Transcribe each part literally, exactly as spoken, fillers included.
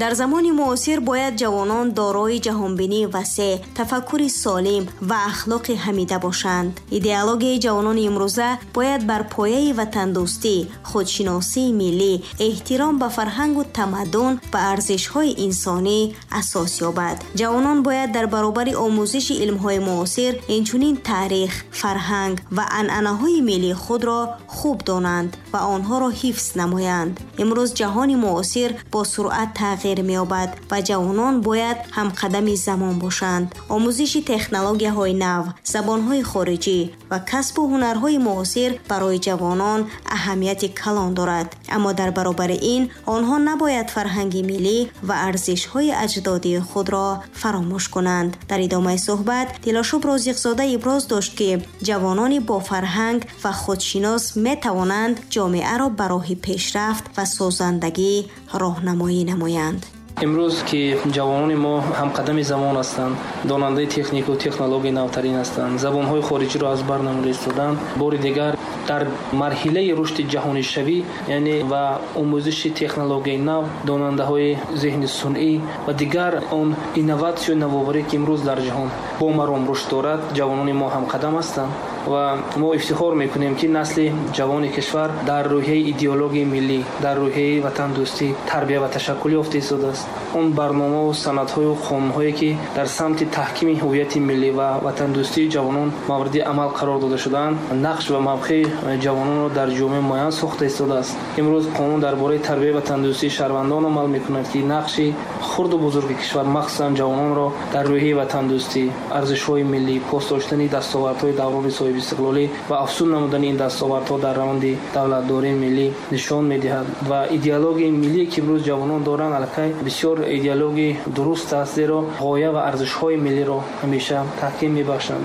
Дар замони муосир бояд ҷавонон дорои ҷаҳонбинии васеъ, тафаккури солим ва ахлоқи ҳамида бошанд. Идеологияи ҷавонони имрӯза бояд бар пояи ватандӯстӣ, худшиносии миллӣ, эҳтиром ба фарҳангу тамаддун ва арзишҳои инсонӣ асос ёбад. Ҷавонон бояд дар баробари омӯзиши илмҳои муосир инчунин таърих, фарҳанг ва анъанаҳои миллии худро хуб донанд ва онҳоро ҳифз намоянд. Имрӯз ҷаҳони муосир бо суръат тағйир меёбад ва ҷавонон бояд ҳамқадами замон бошанд. Омӯзиши технологияҳои нав, забонҳои хориҷӣ ва касбу ҳунарҳои муосир барои ҷавонон аҳамияти калон дорад. Аммо дар баробари ин онҳо набояд фарҳанги миллӣ ва арзишҳои аҷдодии худро фаромӯш кунанд. Дар идомаи суҳбат Дилошуб Розиқзода иброз дошт, ки ҷавонони бофарҳанг ва худшинос метавонанд ҷомеаро ба роҳи пешрафт ва созандагӣ роҳнамоӣ намоянд. Имрӯз ки ҷавонони мо ҳамқадами замон ҳастанд, донандаи технику технологияи навтарин ҳастанд, забонҳои хориҷиро аз бар намуда истоданд, бори дигар дар марҳилаи рушди ҷаҳонишавӣ, яъне ва омӯзиши технологияи нав, донандаҳои зеҳни сунъӣ ва дигар он инноватсию навоварӣ, ки имрӯз дар ҷаҳон бо маром рушд дорад, ҷавонони мо ҳамқадам ҳастанд ва мо ифтихор мекунем, ки насли ҷавони кишвар дар рӯҳияи идеологияи миллӣ, дар рӯҳияи ватандӯстӣ тарбия ва ташаккул ёфта истодааст. Он барномаву санадҳою қонунҳое, ки дар самти таҳкими ҳуввияти миллӣ ва ватандӯстии ҷавонон мавриди амал қарор дода шудаанд, нақш ва мавқеи ҷавононро дар ҷомеа муайян сохта истодааст. Имрӯз қонун дар бораи тарбияи ватандӯстии шаҳрвандон амал мекунад, ки нақши хурду бузурги кишвар, махсусан ҷавононро дар рӯҳияи ватандӯстӣ, арзишҳои миллӣ, пос доштани дастовардҳои даврони соҳибистиқлолӣ ва афзун намудани ин дастовардҳо дар раванди давлатдории миллӣ нишон медиҳад. Ва идеологияи миллие, ки имрӯз ҷавонон доранд, аллакай бисёр идеологияи дуруст аст, зеро ғоя ва арзишҳои миллиро ҳамеша таҳким мебахшанд.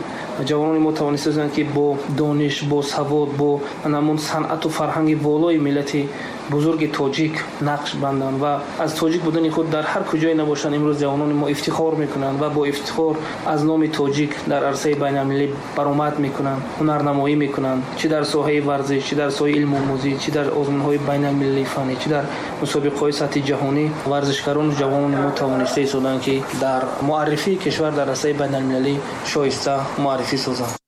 Ҷавонони мо тавонистанд, ки бо дониш, бо савод, бо ҳамон санъату фарҳанги волои миллати бузурги тоҷик нақш банданд ва аз тоҷик будани худ дар ҳар куҷое набошанд, имрӯз ҷавонони мо ифтихор мекунанд ва бо ифтихор аз номи тоҷик дар арсаи байналмилалӣ баромад мекунанд, ҳунарнамоӣ мекунанд, чӣ дар соҳаи варзиш, чӣ дар соҳаи илмомӯзӣ, чӣ дар озмунҳои байналмилалии фаннӣ, чӣ дар мусобиқаҳои сатҳи ҷаҳонӣ. Варзишгарону ҷавонони мо тавониста истоданд, ки дар муаррифии кишвар дар арсаи байналмилалӣ шоиста муаррифӣ созанд.